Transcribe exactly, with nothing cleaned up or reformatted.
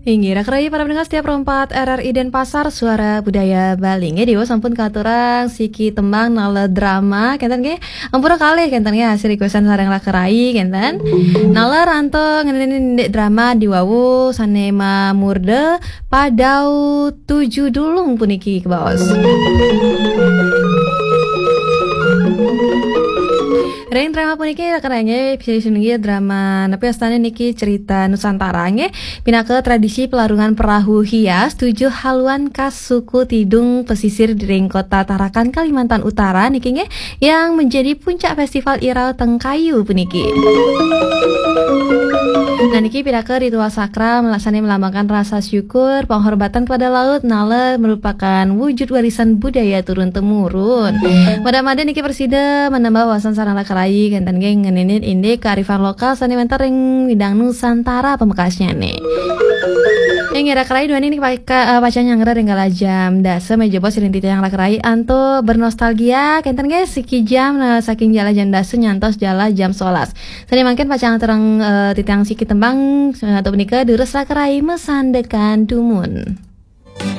Inggih, raka rayi para pendengar setia Pro empat R R I Denpasar, Suara Budaya Bali. Nggih, Dewa sampun katurang siki tembang nala drama, kenten nggih. Ampura kalih kenten nggih, hasil requestan sareng raka rayi kenten. Nala ranto ngeninin indik drama diwawu sane mamurda Padau Tujuh Dulung puniki kebaos. Ring drama puniki raka rayi nggih, bisa sinunggil drama napi astane niki, cerita Nusantara nggih. Pinaka tradisi pelarungan perahu hias tujuh haluan khas suku Tidung pesisir di ring kota Tarakan, Kalimantan Utara niki nggih, yang menjadi puncak festival Irau Tengkayu puniki. Nah, niki pinaka ritual sakral melaksane melambangkan rasa syukur, penghormatan kepada laut, nala merupakan wujud warisan budaya turun temurun. Mada-mada niki prasida menambah wawasan sareng raka rayi kenten nggih ngeninin indik kearifan lokal sane wenten ring bidang Nusantara pamekasnyane. Inggih, raka rayi duaning niki paka-, eh, pacang nyanggra ring kala jam dasa, menawi jebos ring titiang raka rayi antuk bernostalgia kenten nggih siki jam, nah, saking jala jam dasa nyantos jala jam sebelas. Sane mangkin pacang aturang, eh, titiang siki tembang, eh, antuk punika durus raka rayi masandekan dumun.